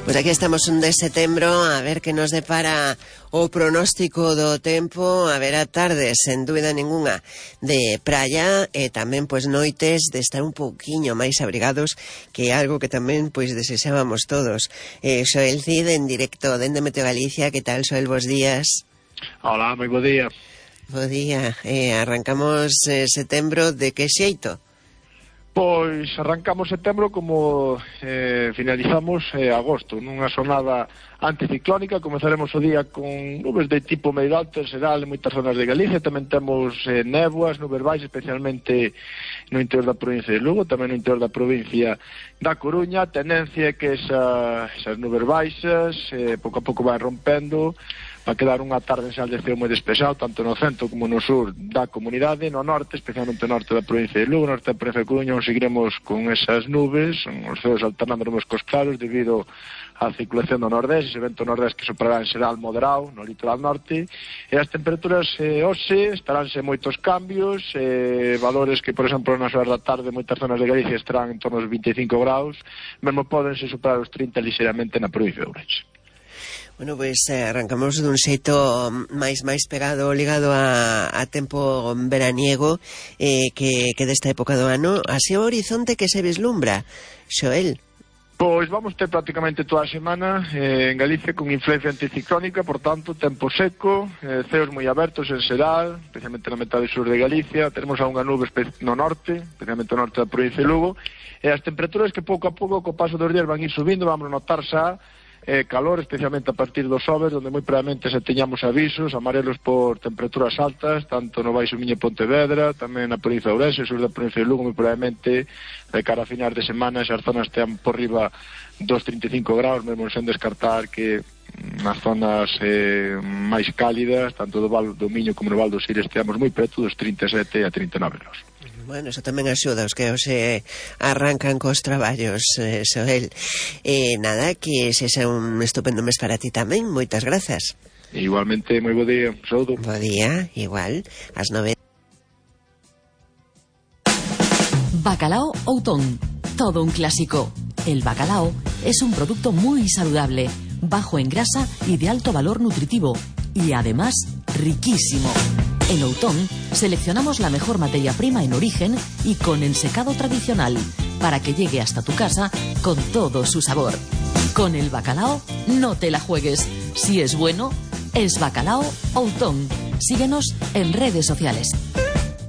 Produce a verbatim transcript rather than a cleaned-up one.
Pois aquí estamos un de setembro, a ver que nos depara o pronóstico do tempo. A ver, a tardes, sen dúbida ninguna, de praia e tamén pois noites de estar un pouquiño máis abrigados, que é algo que tamén pois desexábamos todos. Eh, Xoel Cid, en directo dende Meteo Galicia. Que tal, Xoel? Bos días. Hola, moi bo día. Bo día. Eh, arrancamos eh, setembro de que xeito? Pois arrancamos setembro como eh, finalizamos eh, agosto, nunha xornada anticiclónica. Comezaremos o día con nubes de tipo medio alto en xeral en moitas zonas de Galicia. Tamén temos eh, néboas, nubes baixas, especialmente no interior da provincia de Lugo, tamén no interior da provincia da Coruña. A tendencia é que esa, esas nubes baixas eh, pouco a pouco van rompendo. Va a quedar unha tarde en xeral de ceo moi despexado, tanto no centro como no sur da comunidade. No norte, especialmente no norte da provincia de Lugo, no norte da provincia de Coruña, seguiremos con esas nubes, os ceos alternando nubes cos claros debido á circulación do nordés, ese vento nordés que soprará en xeral moderado no litoral norte. E as temperaturas eh, hoxe estaránse moitos cambios, eh, valores que, por exemplo, nas horas da tarde moitas zonas de Galicia estarán en torno aos vinte e cinco graus, mesmo podense superar os trinta ligeramente na provincia de Ourense. Bueno, pois eh, arrancamos dun xeito máis máis pegado, ligado a, a tempo veraniego eh, que, que desta época do ano. Así o horizonte que se vislumbra, Xoel? Pois vamos ter prácticamente toda a semana eh, en Galicia con influencia anticiclónica, por tanto, tempo seco, eh, ceos moi abertos en xeral, especialmente na metade sur de Galicia. Teremos algunha nube no norte, especialmente no norte da provincia de Lugo, e as temperaturas que pouco a pouco, co paso dos días, van ir subindo. Vamos a notar xa Eh, calor, especialmente a partir dos xoves, onde moi probablemente se teñamos avisos amarelos por temperaturas altas, tanto no Baixo Miño e Pontevedra, tamén na provincia de Ourense, sur da provincia de Lugo. Moi probablemente de cara a finais de semana esas zonas tean por riba dos trinta e cinco graus, mesmo sen descartar que nas zonas eh, máis cálidas, tanto do Val do Miño como no Val do Sir, esteamos moi preto dos trinta e sete a trinta e nove graus. Bueno, eso tamén axuda os que hoxe arrancan cos traballos, eh, Xoel. Eh, nada, que sexa un estupendo mes para ti tamén. Moitas grazas. Igualmente, moi bo día. Saúdo. Bo día, igual, ás nove. Bacalao Outón, todo un clásico. El bacalao es un producto muy saludable, bajo en grasa y de alto valor nutritivo, y además riquísimo. En Outón seleccionamos la mejor materia prima en origen y con ensecado tradicional para que llegue hasta tu casa con todo su sabor. Con el bacalao no te la juegues. Si es bueno, es Bacalao Outón. Síguenos en redes sociales.